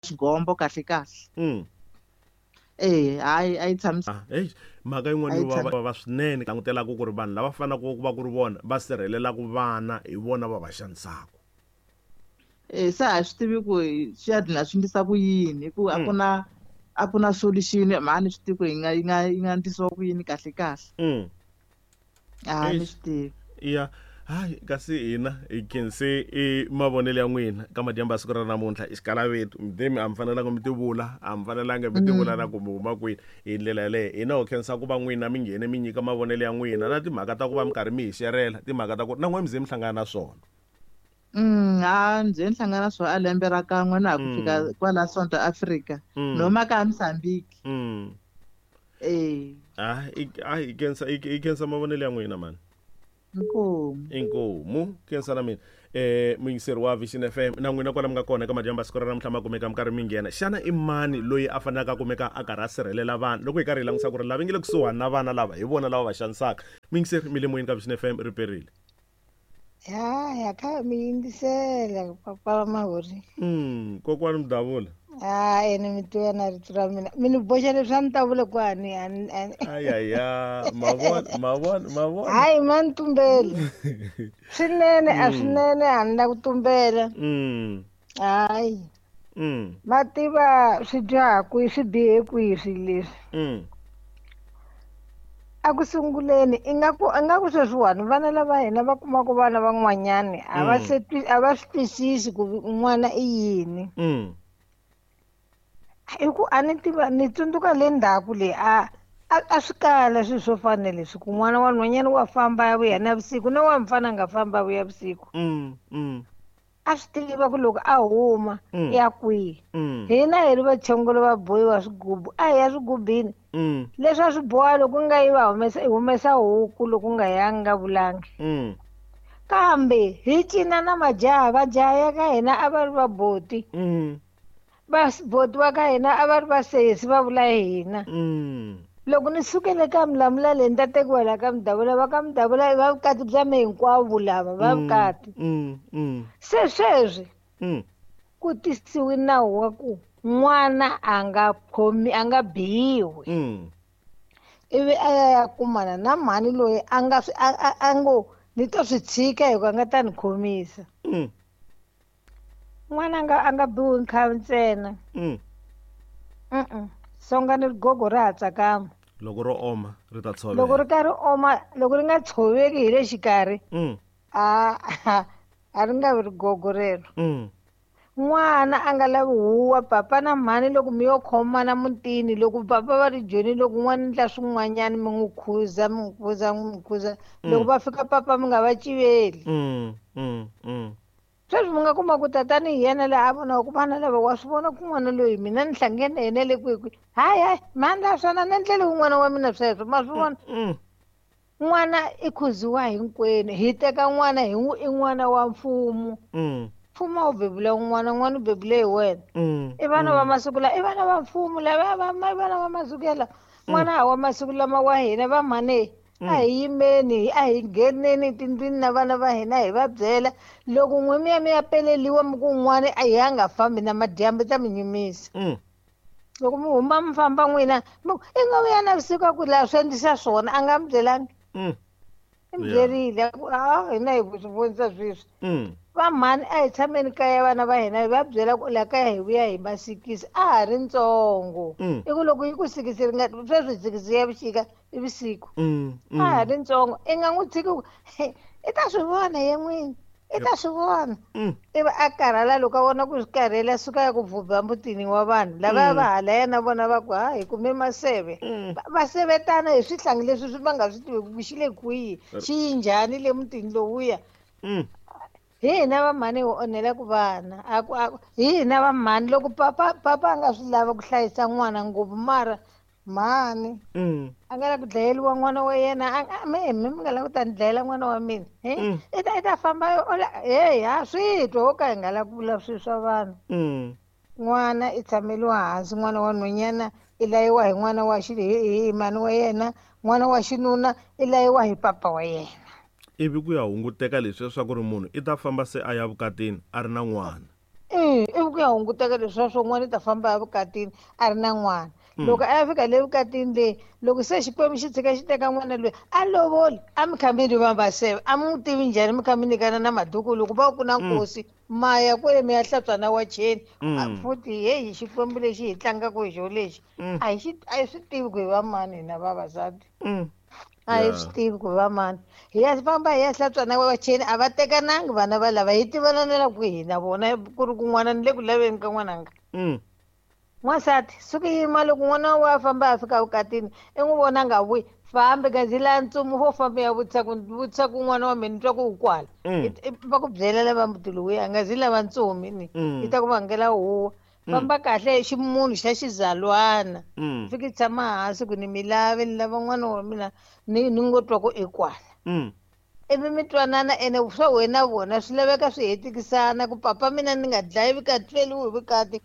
Xigombo kahle kahle. Eh, hayi, a yi tshamisi. Ah, hey, mhaka yin'wana yo vava swinene langutelaka ku ri vanhu lava fanelaka ku va ku ri vona va sirhelelaka vana hi vona va va xanisaka. Eh, se a hi swi tivi ku swi ya dlina swi ndlisa ku yini, hi ku a ku na a ku na solution, mhani swi tivi ku yi nga yi nga yi nga ndlisiwa ku yini kahle kahle. A ni swi tivi. Ya, hayi, kasi hina hi khense i mavonelo ya n'wina ka madyambu ya siku ra namuntlha. I xikalavetu midemi, a mi fanelanga mi tivula, a mi fanelanga mi tivula na ku mi huma kwini hi ndlela yaleyo. Hina ho khensa ku va n'wina mi nghene mi nyika mavonelo ya n'wina na timhaka ta ku va mi karhi mi hi xerela timhaka ta ku na n'we mi ze mi hlangana na swona. A ni ze ni hlangana na swona a lembe ra kan'we na ha ku fika kwala South Africa. Noma ka Mozambique. Eh. Ah, i khensa i khensa mavonelo ya n'wina mani. Inkomu. Inkomu. Khensa na mina. Muyingiseri wa Vision FM na n'wina kwala mi nga kona eka madyambu ya siku ra namuntlha ma kumeka mi karhi mi nghena. Xana i mani loyi a fanelaka a kumeka a karhi a sirhelela vana loko hi karhi hi langutisa ku ri lava nge le kusuhani na vana lava hi vona lava va xanisaka? Muyingiseri, mi le moyeni ka Vision FM, ri perile. Ya, ya kha mi yingisela papa Mahori. Kokwani Mudavula. Ah, ene mi tiva na rito ra mina. Mi ni boxa leswi a ni ta vula ku ani ani ani. Ayaya, mavona, mavona, mavona. Hayi, ma ni tumbela. Swinene, a swinene a ni la ku tumbela. Hayi. Ma tiva swi dyaha kwihi, swi bihe kwihi swilo leswi. A ku sunguleni ingaku sweswiwani vana lava hina va kumaka vana van'wanyani a va se a va swi twisisi ku n'wana i yini. Hi ku a ni tiva, ni tsundzuka le ndzhaku le a a swi kala swilo swo fana na leswi, ku n'wana wa nhwanyana wa famba ya vuya navusiku na wa mfana a nga famba a vuya vusiku. A swi tiva ku loko a huma ya kwihi. Hina hi ri vachongolo va bohiwa swigubu, a hi ya swigubini. Leswi a swi boha loko nga yi va humesa, i humesa huku loko nga yangi nga vulangi. Kambe hi cina na majaha, vajaha ya ka hina a va ri vaboti. Boti wa ka hina a va ri vasesi va vula hina. Loko ni sukele ka Mlamula leyi ni ta tekiwa laha ka Mudavula, va ka Mudavula i va vukati bya me hinkwavo lava, va vukati. Se sweswi ku tisiwe nawu wa ku n'wana a nga khomi, a nga biwi. Ivi a ya ya kumana na mhani loyi a nga swi, a, a, a ngo ni to swi tshika hikuva a nga ta ni khomisa. N'wana a nga biwi nkhavi ntsena. Songa ni rigogo ra ha tsakama. Loko ro oma ri ta tshoveka. Loko ri karhi oma, loko ri nga tshoveki hi le xikarhi, a ri nga vi rigogo rero. N'wana a nga lavi huwa, papa na mhani loko mi yo khomana mutini, loko papa va ri joni, loko n'wana ndla swin'wanyana mi n'wi khuza, mi n'wi khuza, mi n'wi khuza. Loko va fika papa mi nga va civeli. Sweswi mi nga kuma ku tatani hi yena laha a vonaka ku vana lava wa swi vona ku n'wana loyi mina ni hlangene na yena le kwihi kwihi. Hayi, hayi, mhani la swona ni endlele wun'wana wa mina sweswo, ma swi vona? N'wana i khuziwa hinkwenu, hi teka n'wana hi n'wi i n'wana wa mfumo. Mfumo a wu bebula n'wana, n'wana u bebule hi wena. I vana va masiku lawa, i vana va mfumo lava, va, va, i vana va masiku yalawa. N'wana wa masiku lama wa hina va mhani, a hi yimeni, a hi ngheneni tindlwini na vana va hina hi va byela. Loko n'we mi ya mi ya peleliwa mi ku n'wana a hi a nga fambi na madyambu ta mi nyumisa. Loko mi huma mi famba n'wina, mi ku, i nga vuya navusiku a ku laha swi endlisa swona, a nga mi byelangi. I mi byerile, a ku, a, hina hi ku swi vonisa sweswi. Va mhani a hi tshameni kaya vana va hina hi va byela ku laha kaya hi vuya hi masikisi, a ha ri ntsongo. I ku loko yi ku sikisi ri nga, sweswi sikisi ya vuxika i vusiku. A ha ri ntsongo, i nga n'wi tshiki ku, he, i ta swi vona ye n'wini, i ta swi vona. Ivi a karhala loko a vona ku swi karhele, a suka ya ku vhubha mutini wa vanhu lava va hala yena vona va ku, ha, hi kume maseve. Va sevetana hi swihlangi leswi swi va nga swi tivi ku xi le kwihi, xi yi njhani le mutini lowuya. Hi hina va mhani hi onhela ku vana. A ku, a ku, hi hina va mhani loko papa, papa a nga swi lava ku hlayisa n'wana ngopfu, mara mhani a nga la ku dlayeriwa n'wana wa yena, a nga, me, me, mi nga la ku ta ni dlayela n'wana wa mina. He? I ta, i ta famba, o la, hey, ha swi twa, wo ka hi nga la ku vula swilo swa vanhu. N'wana i tshameliwa hansi, n'wana wa nhwanyana i layiwa hi n'wana wa xi, hi, hi mhani wa yena, n'wana wa xinuna i layiwa hi papa wa yena. Ivi ku ya hunguteka leswi leswaku ri munhu i ta famba se a ya vukatini a ri na n'wana. Ivi ku ya hunguteka leswiya swo n'wana i ta famba ya vukatini a ri na n'wana. Loko a ya fika le vukatini leyi, loko se Xikwembu xi tshika xi teka n'wana loyi, a lovoli, a mi kha mi ri vambaseve, a mi n'wi tivi njhani mi kha mi nyikana na maduku loko va ku na nkosi, ma ya kwele mi ya hlantswa na wacheni. Futhi heyi Xikwembu lexi hi tlangaka hi xo lexi, a hi xi a hi swi tivi ku hi va mani hina vavasati. A hi swi tivi ku va mani. Hi ya famba hi ya hlantswa na wacheni, a va tekanangi vana va lava, hi tivananela kwihi na vona ku ri kun'wana ni le ku laveni ka n'wananga. N'wansati, suka yima loko n'wana wa famba a fika vukatini, i n'wi vona a nga vuyi, fambi gazi la ntsumu vo famba ya vutisa ku vutisa ku n'wana wa mina ni twa ku u kwala. Va ku byela lava muti lowuya, nga zi lava ntsumi ni. Yi ta ku vangela huwa. Famba kahle ximunhu xa xizalwana. Fiki tshama hansi ku ni mi lavi, ni lava n'wana wa mina ni ngo twa ku i kwala. Ivi mi twanana ene swa wena vona swi laveka swi hetikisana ku papa mina ni nga dlayi vukati feriwi hi vukati.